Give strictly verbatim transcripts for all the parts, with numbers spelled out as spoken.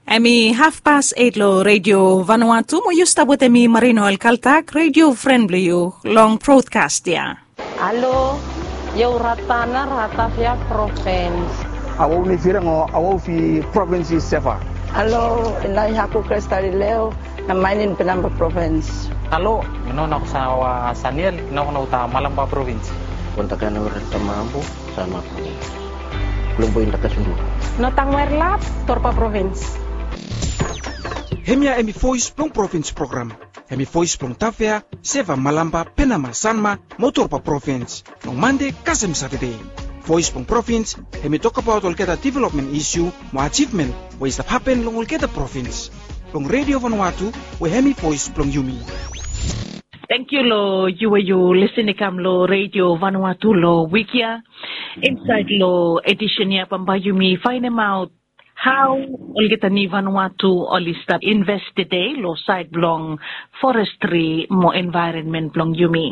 Em i hafpas eit long Redio Vanuatu, mo yu stap wetem mi, Marino Alkaltak, redio fren blong yu long brodkas ya. Halo, yu Ratana, Ratavia provins. Awau ni fireng o awau fi provins i Seva. Halo, inai haku Kristalileo, na mainin Penamba provins. Halo, ino na ko sawa Saniel, ino ko na uta Malamba provins. Kontakan ora tamabu. Sama provins. Klombo inda kasundu. Notang Werlap, Torpa provins. Hemia hemi voes blong provins program. Hemi voes blong Tavea, Seva, Malamba, Penama, Sanma mo Torpa provins. Long Mande kasem Satade. Voes blong provins hemi tokbaot olgeta developmen isiu mo ajivmen we i stap hapen long olgeta provins. Long Redio Vanuatu, we hemi voes blong yumi. Tangkiu long yu we yu lisin i kam long Redio Vanuatu long wik ya. Insaed long edisen ya bambae yumi faenemaot hao olgeta ni Vanuatu oli stap invest tede long saed blong forestri mo envaeronmen blong yumi.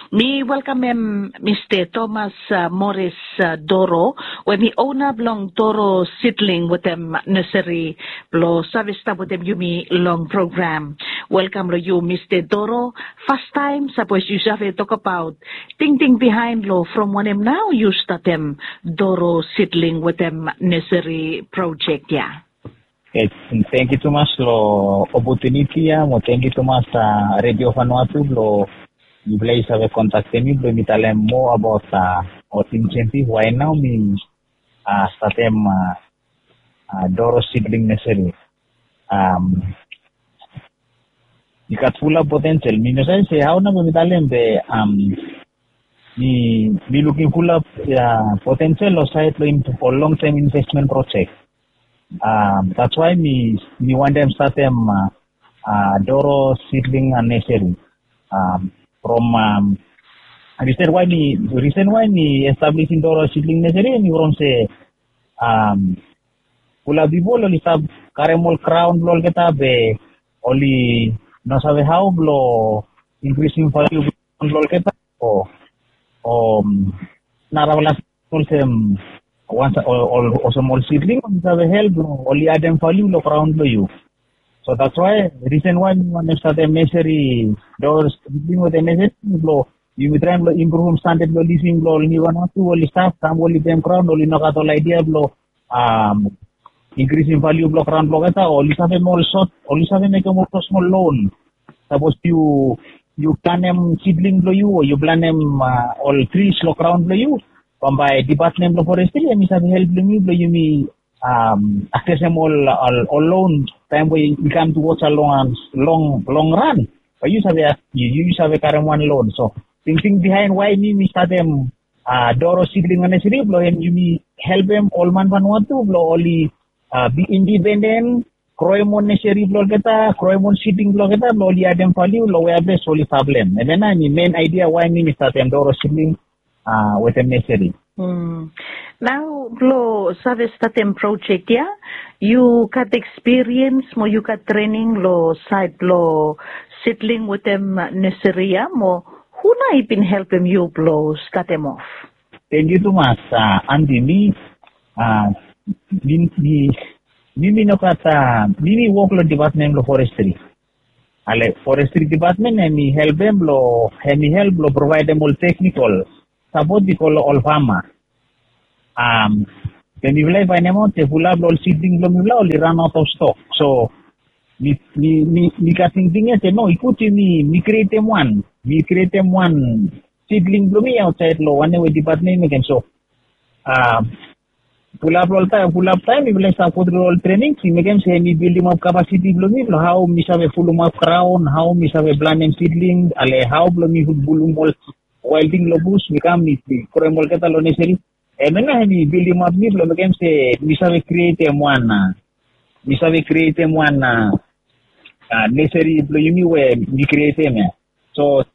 Mi welkamem Mista Thomas, a, Morris, a, Doro, we hemi ona blong Doro Sidling wetem Neseri, blong save stap wetem yumi long program. Welkam long yu, Mista Doro. Fastaem, sapos yu save tokbaot tingting biaen long from wanem nao yu statem Doro Sidling wetem Neseri projek ya? Tangkiu tumas long opotuniti ya, mo tangkiu tumas, a, Redio Vanuatu blong yufala i save kontaktem mi blong mi talem moa abaot, a, ol insentif we nao mi, a, statem, a, a, Doro Sidling Neseri. Am, i gat fulap potensel. Mi no save se hao nao mi talem be, am, mi, mi lukim fulap, a, potensel long saed long in-, ol long tem investmen projek. Am, that's why mi, mi wantem statem, a, a, Doro Sidling, a, Neseri. Am, from, am, risen wae mi, risen wae mi establisim Doro Sidling Neseri, mi from se, am, fulap pipol oli stap karem ol kraon blong olgeta be oli no save hao blong inkrisim valiu blong olgeta o, o, am, narafala olsem, wan sa-, ol, ol, olsem ol sidling oli save help blong oli adem valiu long graon blong yu. So that's why, risen wae mi wantem statem neseri, Doro Sidling wetem neseri blong yumi traem blong impruvum standad blong living blong ol ni Vanuatu oli stap, sam oli adem graon, oli no gat ol aedia blong, am, inkrisim valiu blong graon blong olgeta, oli save mekem ol sot, oli save mekem ol smol smol lon. Sapos yu, yu planem sidling blong yu o yu planem, a, ol tris long graon blong yu, bambae dipatmen blong forestri hemi save helpem yu blong yumi, am, aksesem ol, ol, ol lon taem we i kam tuwaj long, long, long ran. Bae yu save, yu, yu save karem wan lon. So tingting biaen wae mi, mi statem, a, Doro Sidling Neseri blong hem yumi helpem ol man Vanuatu blong oli, a, bi indipenden, groem ol neseri blong olgeta, groem ol sidling blong olgeta blong oli adem valiu long wea ples oli stap long hem. Hemia nao hemi men aedia wae mi, mi statem Doro Sidling, a, wetem neseri. Nao blong save statem projek ya, yu gat ekspiriens mo yu gat trening long saed blong sidling wetem neseri ya, mo hu nao i bin helpem yu blong statem of? Tangkiu tumas, a, Anti. Mi, a, mi, mi, mi, mi no gat, a, mi, mi wok long dipatmen blong forestri. Ale, forestri dipatmen hemi helpem blong, hemi help blong provaedem ol teknikol sapot i go long ol fama. Am, be mifala i faenemaot se fulap long ol sidling blong mifala oli ran aot of stok. So mi, mi, mi, mi gat tingting ya se no, i gud yumi, mi krietem wan, mi krietem wan sidling blong mi aotsaed long wanem we dipatmen i mekem. So, am, fulap long ol taem, fulap taem mifala i stap gotru ol trening, i mekem se mi bildimap kapasiti blong mi blong hao mi save fulumap graon, hao mi save planem sidling, ale hao blong mi fulum ol wael ting long bus, mi kam mi, mi groem olgeta long neseri. Hemia nao hemi bildimap mi blong mekem se mi save krietem wan, a, mi save krietem wan, a, a, neseri blong yumi we mi krietem ya. So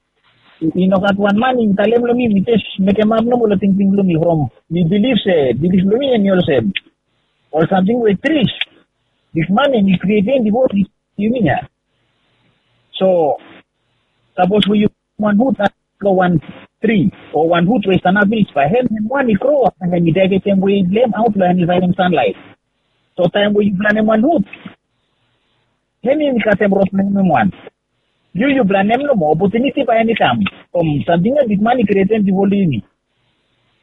i, i no gat wan man i talem long mi, mi jes mekemap nomo long tingting blong mi from mi bilif se, bilif blong mi hemi olsem, ol samting we tris, bigman hemi krietem bifo yumi ya. So sapos we yu wan hut long wan tri o wan hut we i stanap finis, bae hem, hem wan i gro, bae hem i daegetem wei blong hem aot blong hem i faenem sanlaet. So taem we yu planem wan hut, Hem yumi katem rod blong hem wan. Yu yu planem nomo, opotuniti bae hem i kam. From samting ya bigman i krietem bifo long yumi.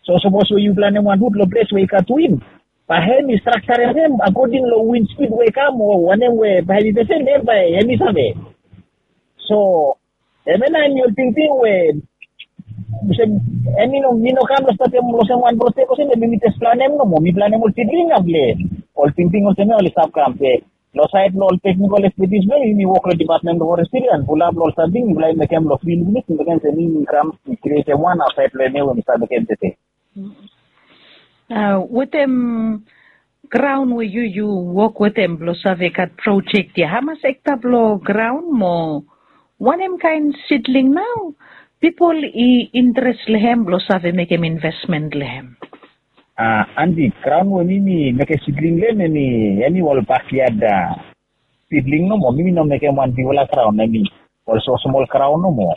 So sapos we yu planem wan hut long ples we i gat win, bae hem i straktarem hem akoding long win spid we i kam o wanem we bae hem i fesem, hem bae hem i save. So hemia nao hem i ol tingting we olsem, hem i no, mi no kam long statem olsem wan projek olsem, be mi jes planem nomo, mi planem ol sidling ya blong ol tingting olsem ya oli stap kam. Be long saed blong ol teknikol ekspetis blong yumi wok long dipatmen blong forestri ya, fulap long ol samting mifala i mekem long fil, mi mekem se mi kam krietem wan aotsaed blong hemia we mi stap mekem tede. Wetem graon we yu yu wok wetem blong save gat projek ya, hamas ekta blong graon mo wanem kaen sidling nao pipol i interes long hem blong save mekem invesmen long hem? Andi, graon we mi mi mekem sidling long hem, hem i ol bakiad sidling nomo. Mi mi no mekem wan bigfala graon, hem i ol smosmol graon nomo.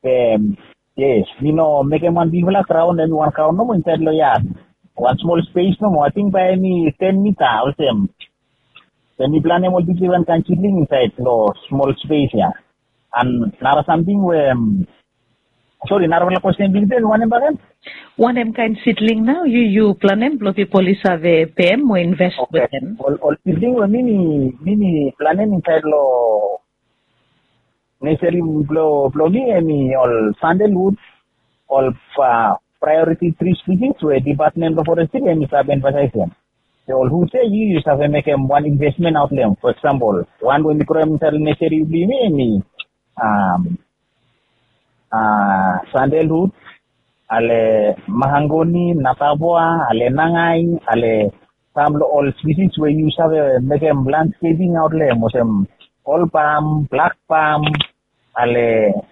Be yes, mi no mekem wan bigfala graon, hem i wan graon nomo insaed long yad. Wan smol spes nomo, ating bae hem i ten mita olsem. Be mi planem ol difren kaen sidling insaed long smol spes ya. An nara samting we, sori, narafala kwesten blong yu, wanem bakegen? Wanem kaen sidling nao yu yu planem blong pipol i save pem o invest wetem? Ol sidling we mi mi mi mi planem insaed long neseri blong mi, hem i ol sandelhut, ol praeoriti tri spisis we dipatmen blong forestri hem i save emfasaesem. Be ol hut ya yu yu save mekem wan invesmen aot long hem. Fo eksampol, wan we mi kroem insaed long neseri blong yumi hem i sandelhut, ale mahangoni, natavoa, ale nangai, ale sam long ol spisis we yu save mekem landskeping aot long hem, olsem ol pam, blak pam, ale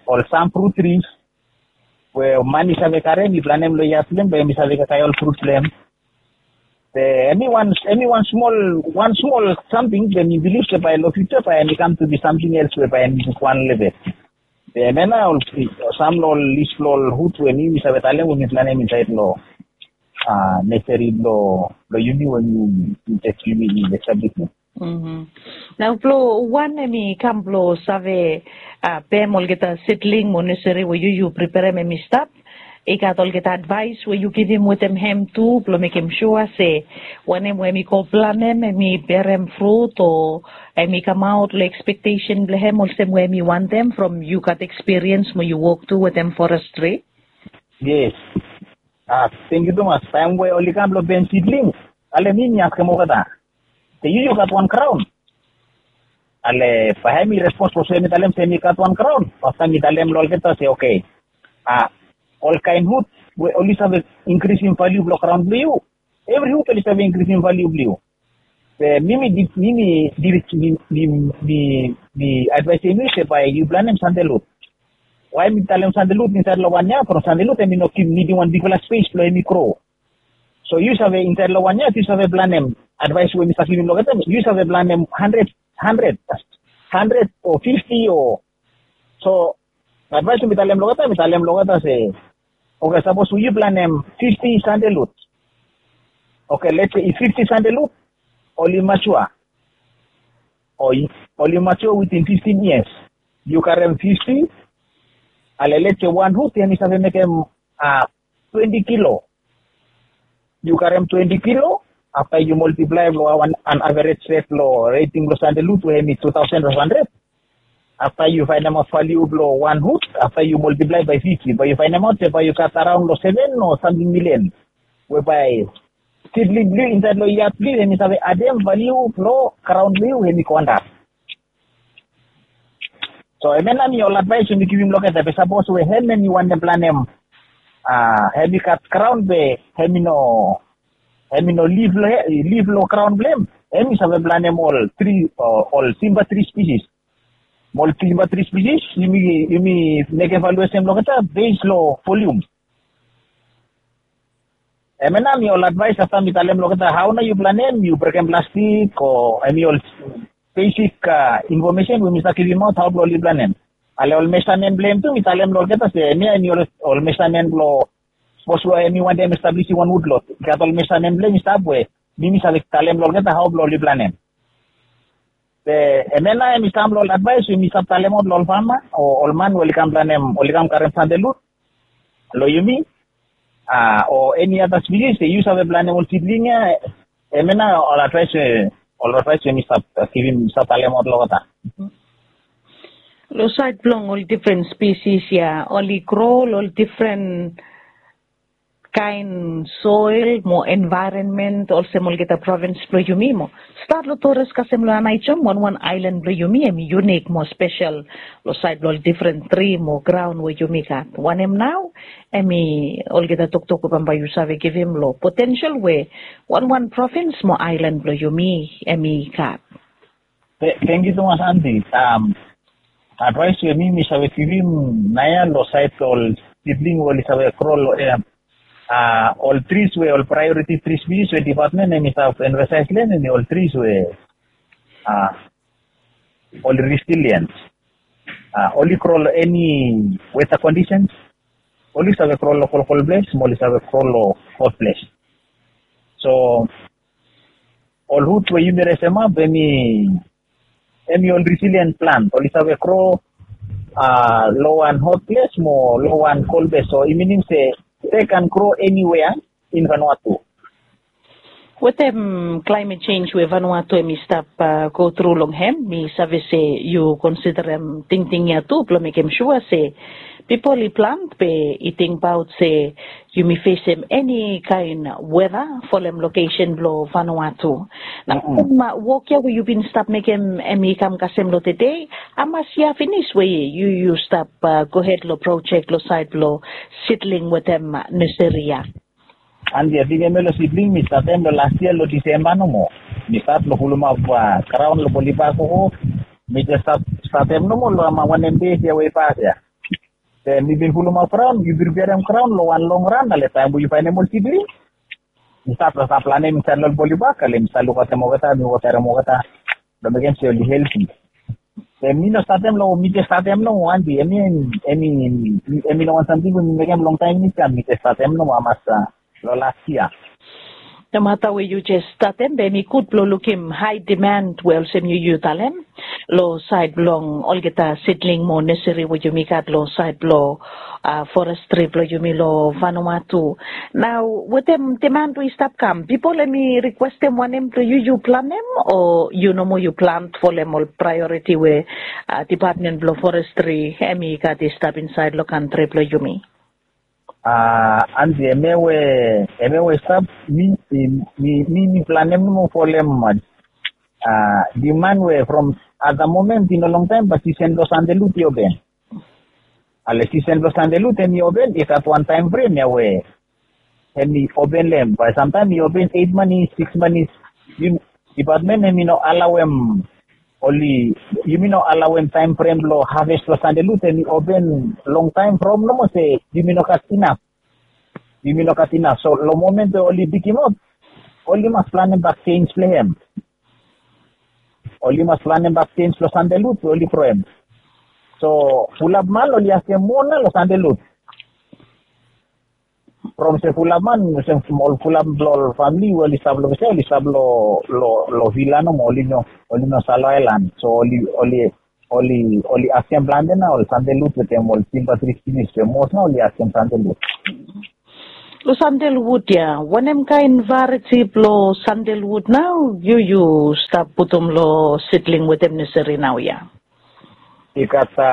ol sam frut tris we man i save karem i planem long yad blong hem bae hem i save kakae ol frut blong hem. Be hem i wan, hem i wan smol, wan smol samting, be mi bilif se bae long fiuja bae hem i kam tu bi samting els we bae hem i bigwan long hem. Be hemia nao ol sam long ol lis blong ol hut we mi mi save talem we mi planem insaed long neseri blong yumi we mi mi jes yumi mi establisim. Nao blong wan hem i kam blong save pem olgeta sidling mo neseri we yu yu preperem hem i stap, i gat olgeta advaes we yu givim wetem hem tu blong mekem sua se wanem we hem i go planem hem i berem frut o hem i kamaot long ekspektesen blong hem olsem we hem i wantem from yu gat ekspiriens mo yu wok tu wetem forestri? Yes. Tangkiu tumas. Taem we oli kam blong pem sidling, ale mi mi askem olgeta se yu yu gat wan graon. Ale bae hem i respons olsem, hem i talem se hem i gat wan graon. Afta mi talem long olgeta se oke, a, ol kaen hut we oli save inkrisim valiu blong graon blong yu. Evri hut oli save inkrisim valiu blong yu. Be mi mi mi mi mi mi mi advaesem yu se bae yu planem sandelhut. Wae mi talem sandelhut insaed long wan ya? From sandelhut hem i no nidim wan bigfala spes blong hem i gro. So yu save insaed long wan ya yu save planem, advaes we mi save givim long olgeta, yu save planem handred, handred, handred o fifti o. So advaes we mi talem long olgeta, mi talem long olgeta se oke, sapos we yu planem fifti sandelhut. Oke, letse if fifti sandelhut oli matua, o oli matua witin fiftin yias, yu karem fifti, ale letse wan hut hem i save mekem twenti kilo. Yu karem twenti kilo, afta yu moltiplae long wan an averej ret long reting blong sandelhut we hem i tu taosen faef handred. Afta yu faenemaot valiu blong wan hut, afta yu moltiplae bae fifti, bae yu faenemaot se bae yu gat araon long seven o samting milian we bae sidling blong yu insaed long yad blong yu hem i save adem valiu blong graon blong yu hem i go antap. So hemia nao hem i ol advaes we mi givim long olgeta. Be sapos we hem hem i wantem planem, a, hem i gat graon be hem i no, hem i no lif long, lif long graon blong hem, hem i save planem ol tri, ol timba tri spisis. Mo ol timba tri spisis yumi, yumi mekem valuesem long olgeta bes long volium. Hemia nao hem i ol advaes afta mi talem long olgeta hao nao yu planem, yu brekem plastik o hem i ol besik infomesen we mi stap givimaot hao blong oli planem. Ale ol mesamen blong hem tu mi talem long olgeta se hemia hem i ol mesamen blong sapos we hem i wantem establisim wan wudlot, i gat ol mesamen blong hem i stap we mi mi save talem long olgeta hao blong oli planem. Be em ya nao em i sam long ol advaes we mi save talemaot long ol fama o ol man we oli kam planem, oli kam karem sandelut long yumi, a o eni ada spisis we yu save planem ol sibling ya. Em ya nao ol advaes we, ol advaes we mi save givim, mi save talemaot long olgeta. Long saed blong ol difren spisis ya, oli gro long ol difren kaen soel mo envaeronmen olsem olgeta provins blong yumi mo. Stat long Torres kasem long Aneityum, wanwan aelan blong yumi em i yunik mo spesel long saed blong ol difren tri mo graon we yumi gat. Wanem nao em i olgeta toktok we bambae yu save givim long potensel we wanwan provins mo aelan blong yumi em i gat? Tengkiu tumas, Anti. Advaes we mi mi save givim naoia long saed blong ol sibling we oli save gro long em, a ol tris we ol praeoriti tris pis we dipatmen em i save emfasaes long em, em i ol tris we, a ol resiliens. A oli gro long eni weta kondisens. Oli save gro long kolkol ples mo oli save gro long hot ples. So ol rut we yumi resemap em i, em i ol resilien plant, oli save gro a long wan hot ples mo long wan kol ples. So i minim se they can grow anywhere in Vanuatu. Wetem klaemet jenj we Vanuatu em i stap a go tru long hem, mi save se yu konsiderem tingting ya tu blong mekem sua se pipol i plant be i tingbaot se yumi fesem eni kaen weta folem lokesen blong Vanuatu. Nao wok ya we yu bin stap mekem em i kam kasem long tede, hamas yia finis we yu yu stap a gohed long projek long saed blong sidling wetem neseri ya? Anti, ating em ya long sibling mi statem long las yia long Disemba nomo. Mi stat long pulumap a graon long Boliba koko. Mi jes stat, statem nomo long hama wanem dei ya we i pas ya. Be mi bin pulumap graon, mi priperem graon long wan long ran, ale taem we yu faenem ol sibling, mi stat long stat planem insaed long ol Boliba, ale mi stat lukaotem olgeta, mi wotarem olgeta blong mekem se oli helti. Be mi no statem long, mi jes statem nomo, Anti. Em i, em i, em i no wan samting we mi mekem longtaem, mi kam, mi jes statem nomo hamas a long las yia. Nomata we yu jes statem, be em i gud blong lukim hae diman we olsem yu yu talem long saed blong olgeta sidling mo neseri we yumi gat long saed blong a forestri blong yumi long Vanuatu. Nao wetem diman we i stap kam, pipol em i rikwestem wanem blong yu yu planem o yu nomo yu plant folem ol praeoriti we a dipatmen blong forestri em i gat i stap insaed long kantri blong yumi? A Anti, em ya we, em ya we i stap, mi, mi, mi, mi planem nomo folem a diman we from at the moment i no longtaem bae sisen blong sandelut i open. Ale sisen blong sandelut em i open, i gat wan taem frem ya we em i open long em, bae samtaem i open eit manis, sikis manis. Dipatmen em i no alaoem, oli, yumi no alaoem taem frem blong haves blong sandelut em i open longtaem from nomo se yumi no gat inaf. Yumi no gat inaf. So long momen we oli bigim ap, oli mas planem bak jenj blong hem. Oli mas planem bak jenj long sandelut we oli groem. So fulap man oli askem moa nao long sandelut. From se fulap man, se ol fulap blong ol famili we oli stap long, se oli stap long, long, long vila nomo, oli no, oli no stap long aelan. So oli, oli, oli, oli askem plante nao ol sandelut wetem ol timba tris pinis, be mos nao oli askem sandelut. Long sandelwud ya, wanem kaen varieti blong sandelwud nao yu yu stap putum long sidling wetem neseri naoia? I gat a,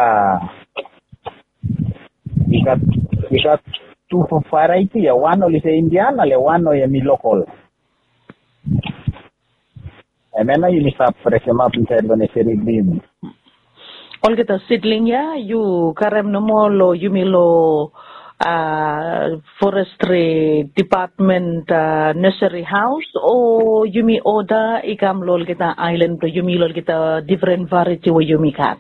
i gat, i gat tu varieti ya. Wan oli se Indian, ale wan oli em i lokol. Hemia nao yumi stap resemap insaed long neseri blong yumi. Olgeta sidling ya yu karem nomo long yumi long a forestri dipatmen a neseri haos, o yumi oda i kam long olgeta aelan blong yumi long olgeta difren varieti we yumi gat?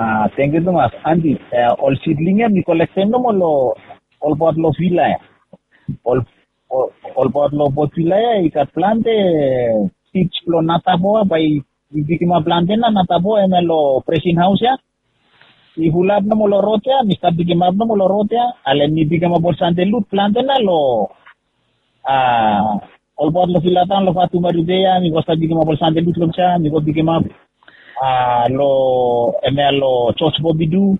A tengkiu tumas, Anti. Ol sidling ya mi kolektem nomo long ol pat long vila ya. Ol, ol pat long pat vila ya i gat plante sij blong nataboa, bae mi bigimap plante nao nataboa hemia long presin haos ya. I fulap nomo long rod ya, mi stap bigimap nomo long rod ya, ale mi bigimap ol sandelut plante nao long a Ol baot long Vila Taon, long Fatu Maribea, mi go stap bikimap ol Sande Luk long Cha, mi go bikimap a long, hemia long Jos Bobidu.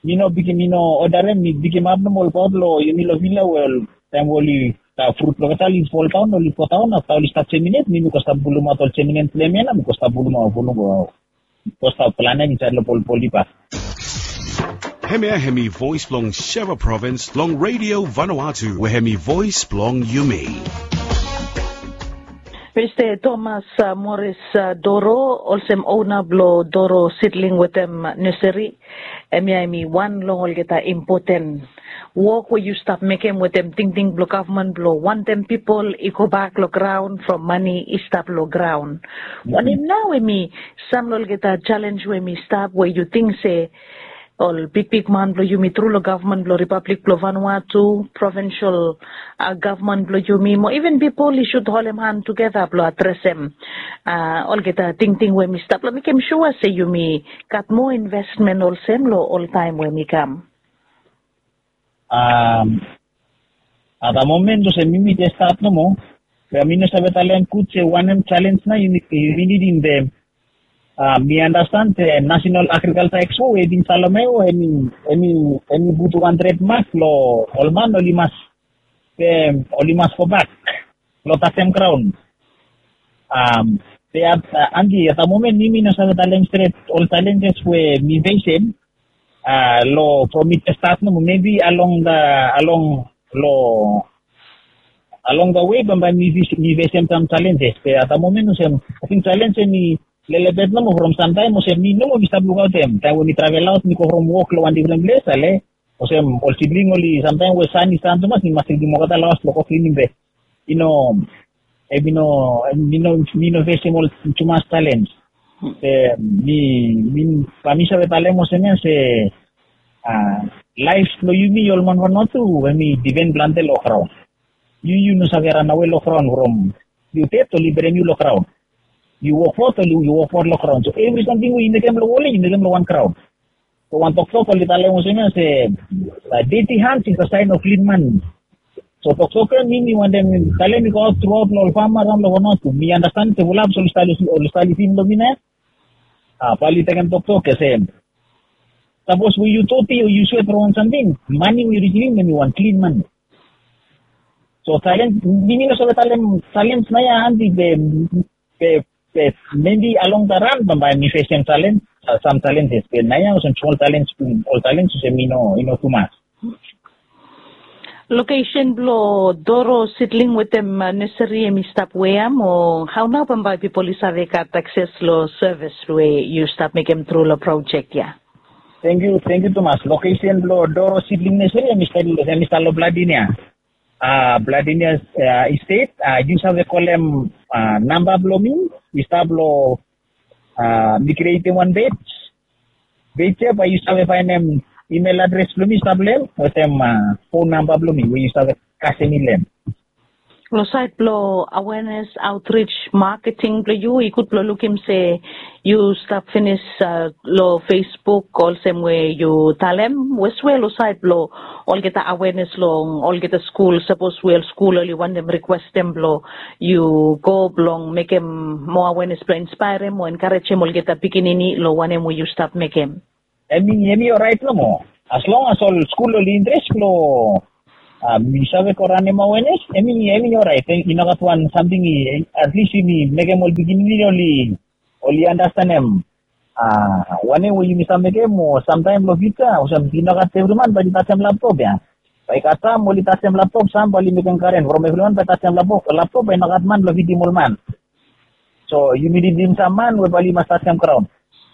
Mi no bikim, mi no odarem, mi bikimap nomo ol baot long yumi long Vila we ol taem we oli, a, frut blong olgeta oli fol daon, oli fo daon, afta oli stap jeminet, mi mi go stap pulumaot ol jeminet blong hemia nao mi go stap pulumaot, pulumaot. Go stap planem insaed long polpoli bak. Hemia hemi voes blong Sheva Provins long Radio Vanuatu, we hemi voes blong yumi. Mista Thomas, a, Morris, a, Doro, olsem ona blong Doro Sidling wetem Nursery, hemia hemi wan long olgeta impoten wok we yu stap mekem wetem tingting blong gavman blong wantem pipol i gobak long graon from mane i stap long graon. Wanem nao hemi sam long olgeta jalenj we hemi stap we yu ting se ol bigbigman blong yumi tru long gavman blong Ripablik blong Vanuatu, provinsol, a, gavman blong yumi mo iven pipol i sud holem han tugeta blong adresem, a, olgeta tingting we hemi stap long mekem sua se yumi gat moa investmen olsem long ol taem we hemi kam? At da momen olsem yumi jes stat nomo, be mi no save talem gud se wanem jalenj nao yumi, yumi nidim be, a, mi andastan se National Agriculture Expo we i bin Salome we hemi, hemi, hemi putum wan tredmak long ol man oli mas, be oli mas gobak long tasem graon. A, be at, a, Anti, at da momen mi mi no save talem stret ol jalenjes we mi fesem, a, long from mi jes stat nomo, mebi along da, along long, along da we bambae mi fes, mi fesem sam jalenjes. Be at da momen olsem, ating jalenj hemi lelebet nomo from samtaem olsem mi nomo mi stap lukaotem. Taem we mi travel aot mi go from wok long wan difren ples ale, olsem ol sidling oli samtaem we san i san tumas mi mas ridim olgeta long haos blong go klinim be i no, hemi no, mi no, mi no fesem ol tumas jalenj. Be mi, mi, bae mi save talem olsem ia se, a, laef blong yumi ol man Vanuatu hemi dipen plante long graon. Yu, yu no save ranawe long graon from yu ded oli berem yu long graon. Yu wokbaot oli, yu wokbaot long graon. So evri samting we yu mekem long wol ia yu mekem long wan graon. So wan toktok oli talem olsem ia se, a, dirty hands is a sign of clean money. So toktok ia mi mi wantem talem i go aot truaot long ol fama raon long Vanuatu. Mi andastan se fulap oli stap, oli stap lisin long mi nao ia. A, bae oli tekem toktok ia se sapos we yu doti o yu swet long wan samting, mane we yu risivim hemi wan klin mane. So jalenj, mi mi no save talem jalenj nao ia Anti be, be, be mebi along da ran bambae mi fesem jalenj, a, sam jalenjes be nao ia olsem smol jalenj, ol jalenj olsem i no, i no tumas. Lokesen blong Doro Sidling wetem, a, Nursery hemi stap wea mo hao nao bambae pipol i save gat akses long sevis we yu stap mekem tru long projek ia? Tangkiu, tangkiu tumas. Lokesen blong Doro Sidling Nursery hemi stap, hemi stap long Bladinia. A, Bladinia, a, Estate, a, yu save kolem, a, namba blong mi i stap long, a, mi krietem wan pej. Pej ia bae yu save faenem email adres blong mi i stap long hem wetem, a, fon namba blong mi we yu save kasem mi long hem. Long saed blong awenes, aotrij, maketing blong yu, i gud blong lukim se yu stap finis, a, long Facebook olsem we yu talem, we swe long saed blong olgeta awenes long olgeta skul, sapos we ol skul oli wantem rikwestem blong yu go blong mekem moa awenes blong inspaerem o enkarejem olgeta pikinini long wanem we yu stap mekem. Hemi, hemi oraet nomo. As long as ol skul oli interes blong, a, mi save go ranem awenes, hemi, hemi oraet. I nogat wan samting i, at least yumi mekem ol pikinini oli, oli andastanem, a, wanem we yumi save mekem o samtaem long fiuja olsem i nogat evri man bae oli tajem laptop ia. Bae i gat sam oli tajem laptop, sam bae oli mekem karen from evri man bae tajem laptop, laptop bae i nogat man blong fidim ol man. So yumi nidim sam man we bae oli mas tajem graon.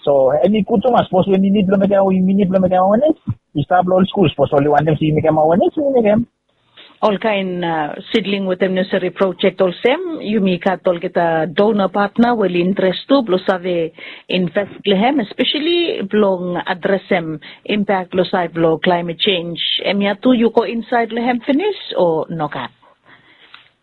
So hemi gud tumas, sapos we mi nid blong mekem, we mi nid blong mekem awenes, i stap long ol skul, sapos oli wantem se yu mekem awenes, yu mekem. Olkaen, a, Sidling wetem Nursery projek olsem, yumi gat olgeta donor partner we oli interes tu blong save invest long hem, especially blong adresem impact long saed blong climate change. Hemia tu yu go insaed long hem finis o nogat?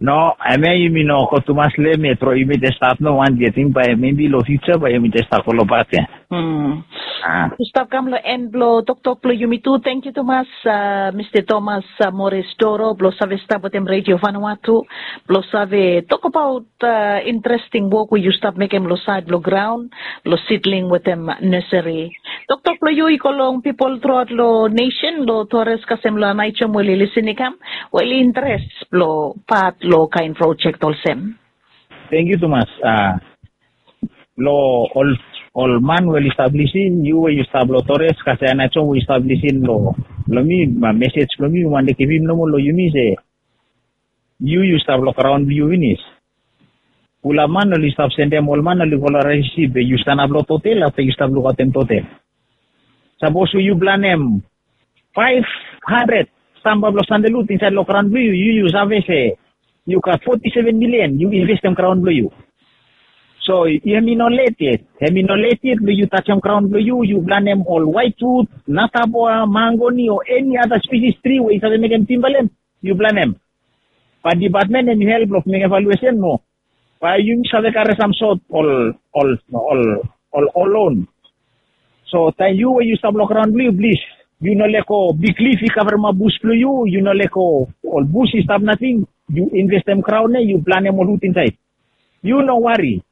No, hemia yumi no go tumas long hem yet, bro. Yumi jes stat nomo, wan ating bae mebi long fiuja bae yumi jes stat go long pat ia. Mm. Yu stap kam long en blong toktok blong yumi tu. Tangkiu tumas, Mista Thomas Morris Toro, blong save stap wetem Redio Vanuatu blong save tokbaot interesting wok we yu stap mekem long saed blong graon, long sidling wetem neseri. Toktok blong yu i go long pipol truaot long nesen, long Torres kasem long Anaitom we oli lisin i kam, we oli interes blong pat long kaen projek olsem. Tangkiu tumas. Long ol ol man we oli stap lisin, yu we yu stap long Torres kasem Anaitom we yu stap lisin long mi, mesej blong mi mi wantem givim nomo long yumi se, yu yu stap long graon blong yu finis. Pulap man oli stap sendem ol man oli go long resisip be yu stanap long totel afta yu stap lukaotem totel. Sapos we yu planem faef handred stamba blong sandelhut insaed long graon blong yu, yu yu save se yu gat foti seven milian yu investem graon blong yu. So hem i no let yet, hem i no let yet blong yu tajem graon blong yu. Yu planem ol waetwut, nataboa, mangoni o eni ada spisis tri we i save mekem timbalem, yu planem. Bat dipatmen hem i help blong mekem evaluesen mo bae yumi save karem sam sot ol ol ol ol lon. So taem yu we yu stap long graon blong yu, plis, yu no lego biglif i kavremap bus blong yu. Yu no lego ol bus i stap nating. Yu investem graon ya, yu planem ol hut insaed. Yu no wari.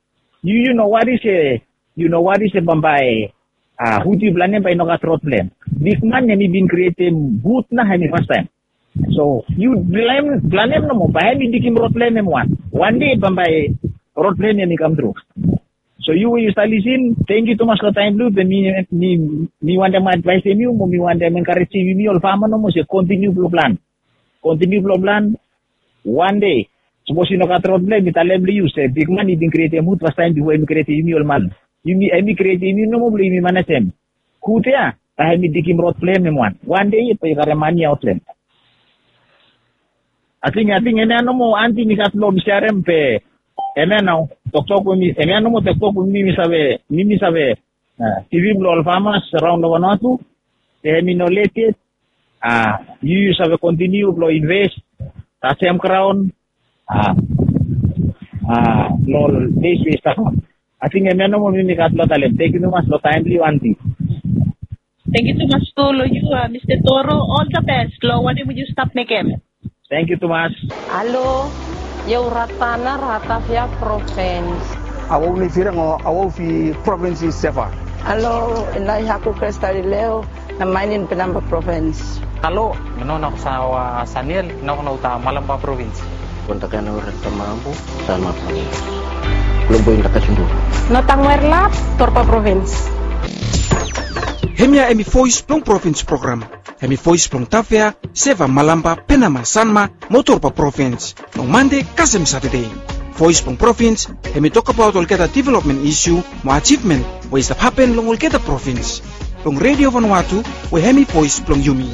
Yu yu no wari se yu no wari se bambae hut yu planem bae i no gat rod blong hem. Bigman hem i bin krietem hut na hem i fastaem. So yu planem nomo bae hem i digim rod blong hem hem wan. Wande bambae rod blong hem hem i kamtru. So yu we yu stap lisin, tangkiu tumas long taem blong yu. Be mi mi mi wantem advaesem yu mo mi wantem enkarejem yumi ol fama nomo se kontiniu blong plan. Kontiniu blong plan. Wande sapos i no gat rod blong hem, mi talem long yu se bigman i bin krietem hut fastaem bifo hem i krietem yumi ol man. Yumi hem i krietem yumi nomo blong yumi manejem hut ya, bae hem i digim rod blong hem hem wan. Wande yet bae yu karem mane aot long hem. Ating ating hemia nomo anti mi gat blong mi serem be hemia nao toktok we mi hemia nomo toktok we mi mi save mi mi save givim long ol famas raon long Vanuatu. Be hem i no let yet. Yu yu save kontiniu blong inves, tajem graon long ol ples we i stap. Ating hemia nomo mi mi gat blong talem. Tangkiu tumas long taem blong yu anti. Tangkiu tumas tu long yu Mista Toro. Ol the best long wanem we yu stap mekem. Tangkiu tumas. Halo, yau Ratana, Ratavia Provins. Awau ni firang o awau fi provins i Seva. Halo, inai haku Krestalileo, na mainin Penamba Provins. Halo, mi no na kusawa Saniel, na kuna uta Malamba Provins. Kontakana ura tamambu, Salma Provins. Lombo inda kasundu. No tangwer lap, Torpa Provins. Hemia hemi voes blong provins program. Hemi voes blong Tavea, Seva, Malamba, Penama, Sanma mo Torba provins long Mande kasem Satade. Voes blong provins hemi tokbaot olgeta developmen isu mo ajivmen we i stap hapen long olgeta provins. Long Redio Vanuatu we hemi voes blong yumi.